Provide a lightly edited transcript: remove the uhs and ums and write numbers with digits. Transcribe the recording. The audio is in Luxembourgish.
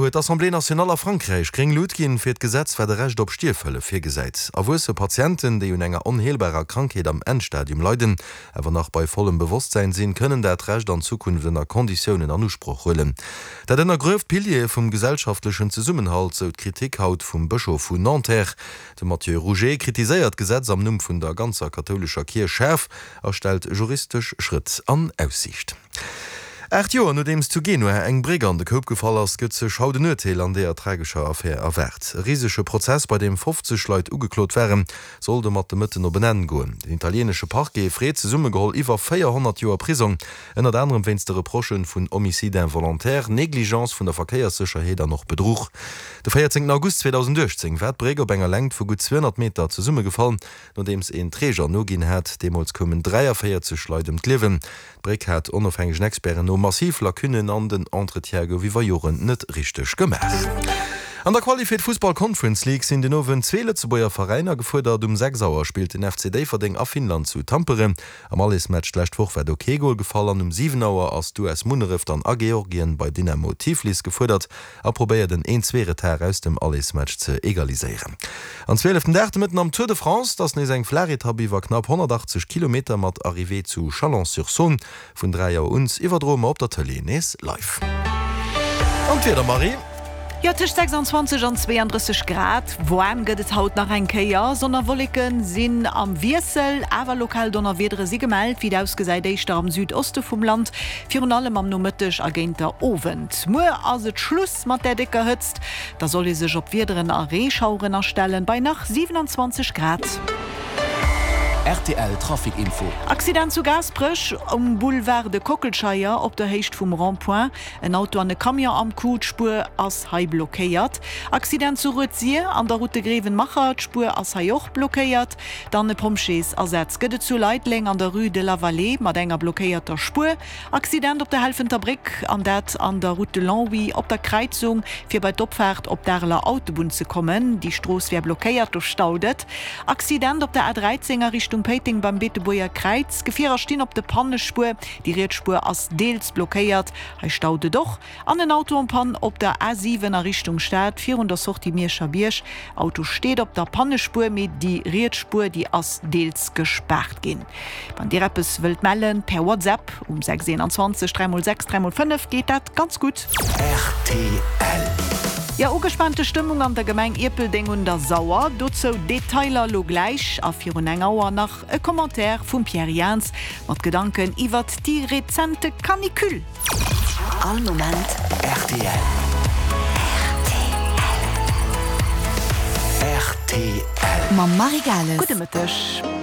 huet d'Assemblée nationale a Frankräich gréng Lut ginn fir d'Gesetz, wat e Recht op Stierfhëllef virgesäit. Erwuesse Patienten, déi un enger onheelbarer Krankheet am Endstadium leiden, awer nach bei vollem Bewosstsäin sinn, kënnen dat Recht an Zukunft ënner Konditiounen an Usproch huelen. Dat ënnergrueft d'Piliere vum gesellschaftlechen Zesummenhalt, sou d'Kritik haut vum Bëschof vun Nanterre. De Matthieu Rouget kritiséiert d'Gesetz am Numm vun der ganzer kathoulescher Kierch schaarf a stellt juristesch Schrëtt an Aussiicht. 8 Joer nodeems zu Genua eng Bréck an de Koup gefall ass, gëtt sech haut en Urteel an deeër tragescher Affär erwaart. E risege Prozess, bei deem 50 Leit ugeklot waren, soll domat de Mëtten op en Enn goen. Den italienesche Parquet freet zesummegeholl iwwer 400 Joer Prisong, ënnert anerem wéinst de Reprochë vun Homicide involontaire, Negligence vun der Verkéierssécherheet an och Bedruch. De 14 August 2018 war d'Bréck op enger Längt vu gutt 200 Meter zesummegefall, nodeems een Träger noginn hat. Deemools koumen 43 Leit ëm d'Liewen. D'Bréck hat onofhängegen Experten no massiv Lacunnen an den Entretien gouf iwwer Joren net richteg gemaach. An der Quali fir d'Fussball Conference League sinn den Owend zwee Lëtzebuerger Veräiner gefuerdert. Um 6 Auer spillt den FC Déifferdeng a Finnland zu Tampere. Am Allesmatch d'lescht Woch war do kee Gol gefall an um 7 Auer ass d'US Munneref dann a Georgien bei Dynamo Tiflis gefuerdert. A probéiert en Een-Zwee-Retard aus dem Allesmatch ze egaliséieren. An zwieleften Dag de Mëtten am Tour de France ass nees eng flaach Etapp iwwer knapp 180 Kilometer mat Arrivée zu Chalon-sur-Saône. Vun 3 Auer un iwwerdroe mer op der Tëlee nees live. An d'Wieder, Marie? Jo, tëscht 26 an 32 Grad waarm gëtt et haut nach eng Kéier. Sonn a Wolleke sinn am Wiessel, awer lokal Donnerwiedere si gemellt. Wéi et ausgesäit, éischter am Südoste vum Land, virun allem am Nomëtteg a géint der Owend. Muer ass et Schluss mat där décker Hëtzt, da soll ee sech op Wiederen a Reeschaueren astellen, bei nach 27 Grad. Rtl Trafic Info. Accident zu Gaasperech um Boulevard de Kockelscheier op der Héicht vum Rond-point. En Auto an e Camion am Coup, d'Spuer ass hei blockéiert. Accident zu Rued-Sir an der Route de Grevenmacher, d'Spuer ass hei och blockéiert. Dann e Pompjeesasaz gëtt et zu Leideleng an der Rue de la Vallée mat enger blockéierter Spuer. Accident op der Helfenter Bréck an dat an der Route de Longwy op der Kräizung fir bei d'Opfaart op d'Areler Autobunn ze kommen. Déi Strooss wär blockéiert, do staut et. Accident op der A13 a Richtung Péiteng beim Beetebuerger Kräiz. Gefierer stinn op de Pannespuer, déi riets Spuer ass deels blockéiert, hei staut et och. An en Auto en panne op der A7 a Richtung Stad virun der Sortie Mierscher Bierg. Auto steet op der Pannespuer, mee déi riets Spuer déi ass deels gespaart ginn. Wann dir eppes wëllt mellen, per WhatsApp um 6 21 3 x 6 3 x 5 geet dat ganz gutt. Rtl. Jo, ugespaante Stëmmung an der Gemeng Ierpeldeng un der Sauer. Dozou Detailer lo gläich a virun eng Auer nach e Commentaire vum Pierre Jaans mat Gedanken iwwert déi rezente Canicule. All Moment rtl. Rtl. Mam Marie Gales. Gudde Mëtteg.